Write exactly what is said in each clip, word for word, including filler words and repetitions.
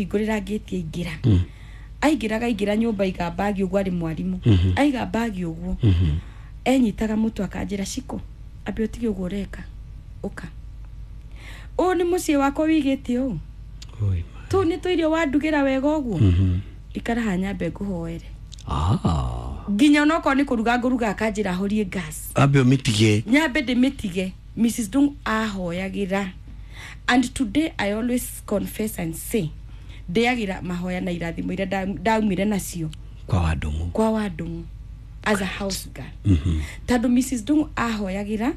Ndamũhingũrĩra ngĩti, aingĩra. Aingĩraga, aingĩra nyũmba, aiga bagi ũguo, arĩ mwarimũ, aiga bagi ũguo, enyitaga mũtwe, akanjĩra, "Ciko, ambe ũtige ũguo ũreka, ũka ũũ nĩ mũciĩ wakwa wigĩte ũũ." Oi, ma. Tũu nĩ tũirio wandugĩra wega ũguo, ikara haha nyambe ngũhoere. Ah. Nginya onokorwo nĩ kũruga ngũruga, akanjĩra horie gas. Ambe ũmĩtige. Nyambe ndĩmĩtige. Missus Dung ahoyagĩra, and today I always confess and say ndĩagĩra mahoya na irathimo iria nda- ndaumire nacio kwa Wandũng'ũ. Kwa Wandũng'ũ as a house girl, tondũ Missus Dung ahoyagĩra,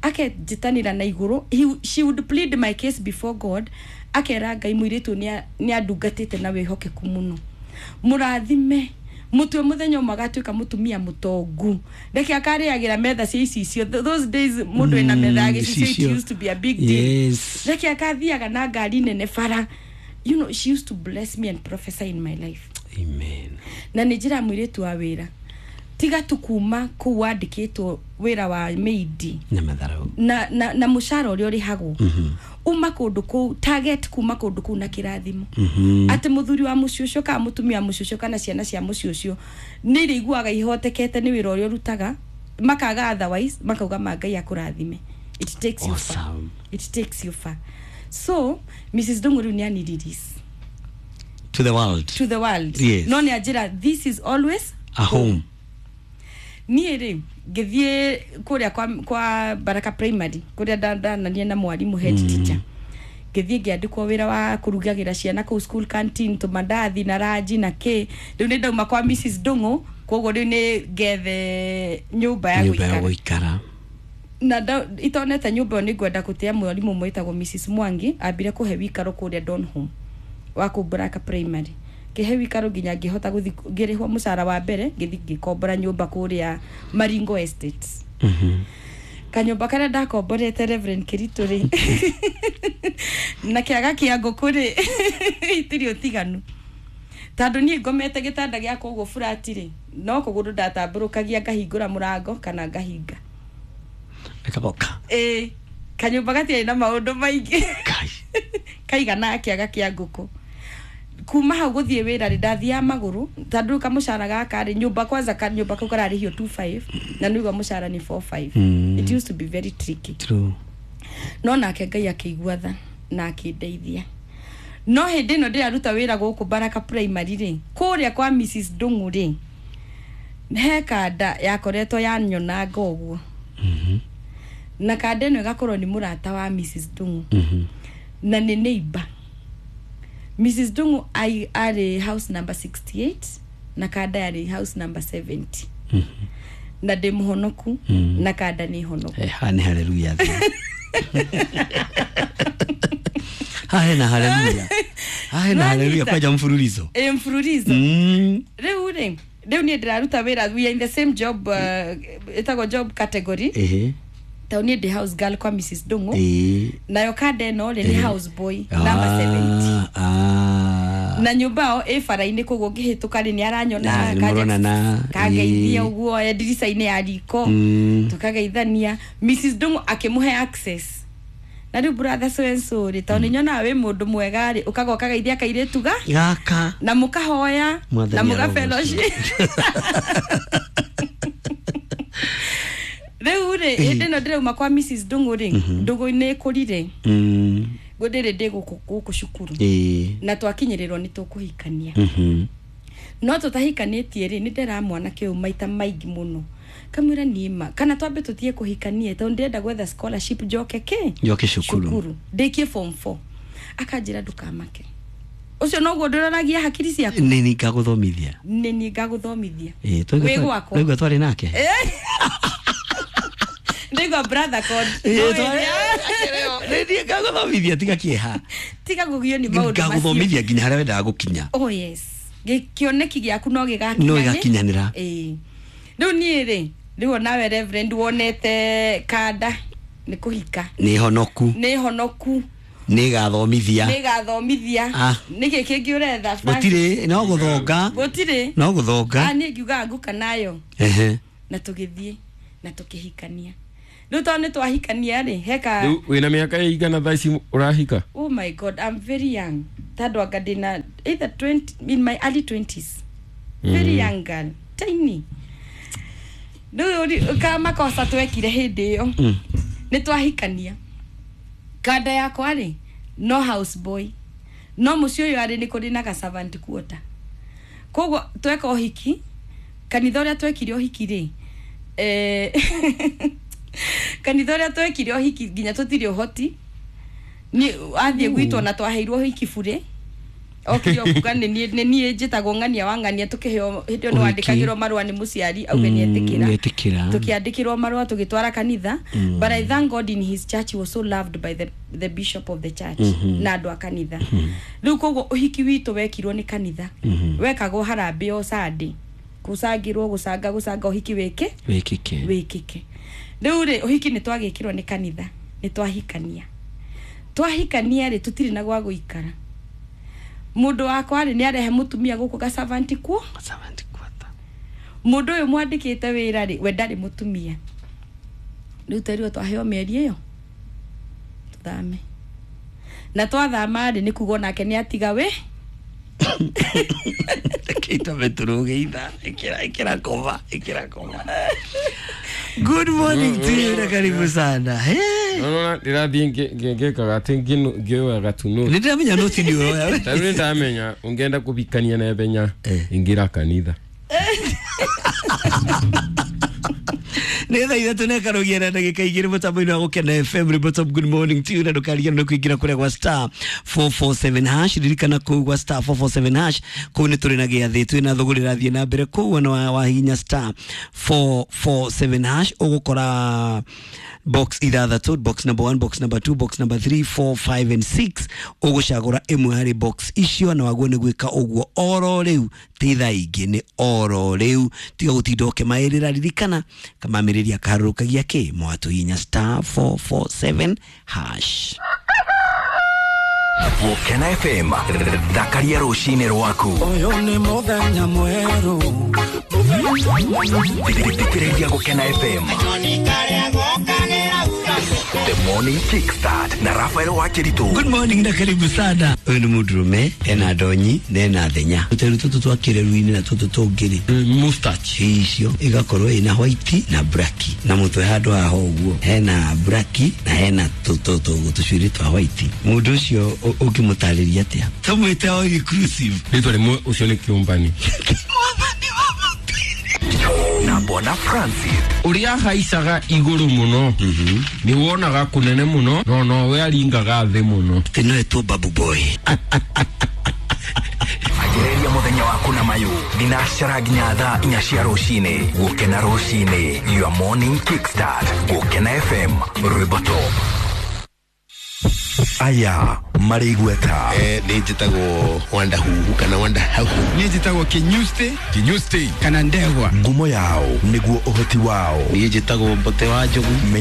akenjĩtanĩra na igũrũ. He- she would plead my case before God, akera Ngai, mũirĩtu nĩ andungatĩte na wĩhokeku mũno, mũrathime, mũtue mũthenya ũmwe agatuĩka mũtumia mũtongu, reke akarĩagĩra metha cia icicio. Th- those days mũndũ ena metha ya gĩcicio, it gĩcicio. used to be a big deal. Yes. Reke akathiaga na ngari nene bara. you know she used to bless me and prophesy in my life. Amen. Na nä njä ra mwä rä tu wa wä ra, tiga tu kuma kũu wandĩkĩtwo wĩra wa maidi na matharau na, na, na mũcara ũrĩa ũrĩhagwo uma kũndũ kũu, target kuma kũndũ kũu na kĩrathimo, atĩ mũthuri wa mũciĩ ũcio kana mũtumia wa mũciĩ ũcio kana ciana cia mũciĩ ũcio nĩ irĩiguaga ihotekete nĩ wĩra ũrĩa ũrutaga, makaga otherwise makauga ma Ngai akũrathime. It takes you far. Awesome. It takes you far. So Missus Ndung'u rĩu nĩ ani release to the world. To the world. Yes. No nĩ anjĩra, "This is always a home." Niĩ rĩ, ngĩthiĩ kũrĩa kwa, kwa Baraka Primary, kũrĩa ndanania na mwarimũ head teacher, ngĩthiĩ ngĩandĩkwo wĩra wa kũrugagĩra ciana kũu school canteen, tũmandathi na ranji na kĩ. Rĩu nĩ ndauma kwa Missus Ndung'u, koguo rĩu nĩ ngethe nyũmba ya nyũmba ya gũikara. Gũikara. Na nda- itonete nyũmba ĩyo, nĩ ngwenda gũtĩa mwarimũ ũmwe wĩtagwo Missus Mwangi, ambire kũhe wikaro kũrĩa Donholm wa kũu Baraka Primary, kĩhe wikaro nginya ngĩhota gũthi, ngĩrĩhwo mũcara wa mbere, ngĩthi ngĩkombora nyũmba kũrĩa Maringo Estates. Kanyũmba karĩa ndakomborete, Reverend Kĩritũ rĩ, na kĩaga kĩa ngũkũ rĩ, itirĩ ũtiganu, tondũ niĩ ngomete gĩtanda gĩakwa ũguo flat rĩ, no kũgũrũ ndatambũrũkagia ngahingũra mũrango kana ngahinga. Ĩkaboka. Ĩĩ, kanyũmba gatiarĩ na maũndũ maingĩ. Kai. Kaigana kĩaga kĩa ngũkũ. Kuma hau gũthiĩ wĩra rĩ, ndathiaga magũrũ, tondũ rĩu kamũcara gaka rĩ, nyũmba kwanza, kanyũmba kau kararĩhio two five na nĩguo mũcara nĩ four five. Mm. It used to be very tricky. True. No nake Ngai akĩigua tha na akĩndeithia. No hĩndĩ ĩno ndĩraruta wĩra gũkũ Baraka Primary rĩ, kũrĩa kwa Missus Ndung'u rĩ, he kanda yakoretwo yanyonanga ũguo, na kanda ĩno ĩgakorwo nĩ mũrata wa Missus Ndung'u Mhm. na nĩ neighbor. Missus Ndung'u ai- arĩ house number sixty-eight na kanda yarĩ house number seventy, na ndĩ mũhonoku na kanda nĩ honoku. Eh, haha nĩ haleluya, haha hena haleluya, haha hena haleluya. Nĩwanyita? Kwanja mfululizo. Ĩ, mfululizo. Mm. Rĩu rĩ, rĩu niĩ ndĩraruta wĩra, we are in the same job, uh, ĩtagwo job category, Ehe. tondũ niĩ ndĩ house girl kwa Missus Ndung'u, Ĩĩ. nayo kanda ĩno rĩ, nĩ house boy number seventy. Ah, ah. Na nyũmba ĩyo ĩ bara-inĩ, koguo ngĩhĩtũka rĩ, nĩ aranyona. Na, nĩmũronana. Kangeithia Ĩĩ. ũguo e ndirica-inĩ ya riko. Mm. Tũkageithania. Missus Ndung'u akĩmũhe access, na rĩu brother so and so rĩ, tondũ nĩ nyonaga wĩ mũndũ mwega rĩ, ũkaga ũkageithia kairĩtu ga gaka na mũkahoya Mwathani na mũga arogocwo. fellowship. Rĩu rĩ, hĩndĩ ĩno ndĩrauma kwa Missus Ndung'u rĩ, ndũgũ nĩ ĩkũrire. Mm. Ngũndĩrĩ ndĩ gũkũ gũkũ cukuru Ĩĩ. na twakinyĩrĩrwo nĩ tũkũhikania. Mhm. No tũtahikanĩtie rĩ, nĩ ndera mwanake ũyũ maita maingĩ mũno, kamwĩra niĩma kana twambe tũtige kũhikanie, tondũ ndĩrenda gwetha scholarship njoke kĩ Njoke cukuru. Cukuru ndĩkie form four. Akanjĩra, "Ndũkamake, ũcio noguo ndũroragia hakiri ciaku." Nĩ niĩ ngagũthomithia. Nĩ niĩ ngagũthomithia. Ĩĩ, twaigua Wĩ twa- gwakwa. twaigua twarĩ nake. Ndĩigua brother code. Ĩĩ, No twarĩ- ĩrĩa- nĩ niĩ ngagũthomithia, tiga kĩeha. Tiga kũgio nĩ maũndũ macio. Ngagũthomithia nginya harĩa wendaga gũkinya. Oh yes, kĩoneki gĩaku no gĩgakinya. No gĩgakinyanĩra. Ĩĩ, rĩu niĩ rĩ, rĩu onawe Reverend wonete kanda nĩ kũhika. Nĩ honoku. Nĩ honoku. Nĩ gathomithia. Nĩ gathomithia. Ah. Nĩkĩ kĩngĩ ũretha, Frank? Gũtirĩ, no gũthonga. Gũtirĩ. No Ah, gũthonga. Niĩ ngiugaga nguka nayo. Ehe. Na tũgĩthiĩ na tũkĩhikania. Rĩu tondũ nĩ twahikania rĩ, heka Rĩu wĩna mĩaka ĩigana thaa ici ũrahika? Oh my God, I'm very young, tondũ anga ndĩna either twenty, in my early twenties, very young girl, tiny. Rĩu ri- ka makosa twekire hĩndĩ ĩyo nĩ twahikania, kanda yakwa rĩ, no house boy, no mũciĩ ũyũ arĩ nĩ kũrĩ na ga servant quarter. Koguo tweka ũhiki kanitha ũrĩa twekire ũhiki rĩ, eh, kanitha ũrĩa twekire ũhiki nginya tũtirĩ ũhoti ni athiĩ gwitũ, na twaheirwo ũhiki burĩ, okire okuga nĩ niĩ nĩ niĩ njĩtagwo ng'ania wa ng'ania. Tũkĩheo hĩndĩ ĩyo nĩ Ũhiki. Wandĩkagĩrwo marũa nĩ mũciari auge nĩ etĩkĩra. Nĩetĩkĩra. Tukiandikirwo marũa tũgĩtwara kanitha, but I thank God in his church he was so loved by the, the bishop of the church na andũ a kanitha. Rĩu koguo ũhiki witũ wekirwo nĩ kanitha, wekagwo harambĩ o Sunday, gũcangĩrwo, gũcanga gũcanga ũhiki wĩke wĩkĩke. Wĩkĩke. Rĩu rĩ, ũhiki nĩ twagĩkĩrwo nĩ kanitha, nĩ twahikania. Twahikania rĩ, tũtirĩ na gwa gũikara. Mũndũ wakwa rĩ, nĩ arehe mũtumia gũkũ ga servant kuo. Servant quarter. Mũndũ ũyũ mwandĩkĩte wĩra rĩ, we ndarĩ mũtumia. Rĩu twerirwo twaheo mĩeri ĩyo tũthame, na twathama rĩ, nĩ kuga onake nĩ atiga wĩ Reke itome tũrũge itha ĩkĩra ĩkĩra koma ĩkĩra koma. Good morning to you na karibu sana. Hey. Nona ndĩrathiĩ ngĩkaga atĩ ngĩoyaga tu notes. Nĩ ndĩramenya noti nĩ ũroya we. Tarĩu nĩ ndamenya ũngĩenda kũhikania na ihenya, Eh. ingĩra kanitha. Nĩ thaa ithatũ na ĩkarogia na ndagĩka igĩrĩ mũtambo-inĩ wa Gũkena F M Ribotop. Good morning to you, na ndũkariganĩrwo kũingĩra kũrĩa gwa star four four seven hash. Ririkana kũu gwa star four four seven hash, kũu nĩ tũrĩ na gĩathĩ, twĩ na thũgũrĩ ĩrathiĩ na mbere kũu. Ona wa- wahihinya star four four seven hash, ũgũkora box ithathatũ: box number one, box number two, box number three, four, five and six. Ũgũcagũra ĩmwe harĩ box icio, na waguo nĩ gwĩka ũguo oro rĩu, ti thaa ingĩ, nĩ oro rĩu. Tiga gũtinda ũkĩmaĩrĩra. Ririkana kamamĩrĩria kaharũrũkagia kĩ mwatũhinya star four four seven hash. Gũkena F M, thakaria rũcinĩ rwaku. Ũyũ nĩ mũthenya mwerũ. Thikĩrĩria Gũkena F M, The Morning Kickstart na Rafael Wakĩritũ. Good morning na karibu sana. Ũyũ nĩ mũndũrũme ena ndonyi na ena thenya, tũteru tũtũ twa kĩreru-inĩ na tũtũ tũngĩ-rĩ, mustache, icio igakorwo ina white na black, na mũtwe handũ haha ũguo hena black na hena tũcuĩrĩ twa white. Mũndũ ũcio ũngĩmũtarĩria atĩa? Tũmwĩte o inclusive. Rĩtwa rĩmwe ũcio nĩ kĩũmbani. Na Bwana Francis. Ũrĩa haicaga igũrũ mũno nĩ wonaga kũnene mũno, no nowe aringaga thĩ mũno. Atĩ no etwo Babu Boy. Anjĩrĩria mũthenya waku na mayũ thinacara nginya thaa inya cia rũcinĩ. Gũkena rũcinĩ, your morning kickstart. Gũkena F M, rwĩmbo top. Aya marĩ igweta. Eh, nä njä tagwo Wanda Huhu kana Wanda Hau. Niä njätagwo Kinyusti. Kinyusti. Kana Ndegwa. Ngumo yao nĩguo ũhoti wao. Niä njä tagwo Mbote wa Njogu.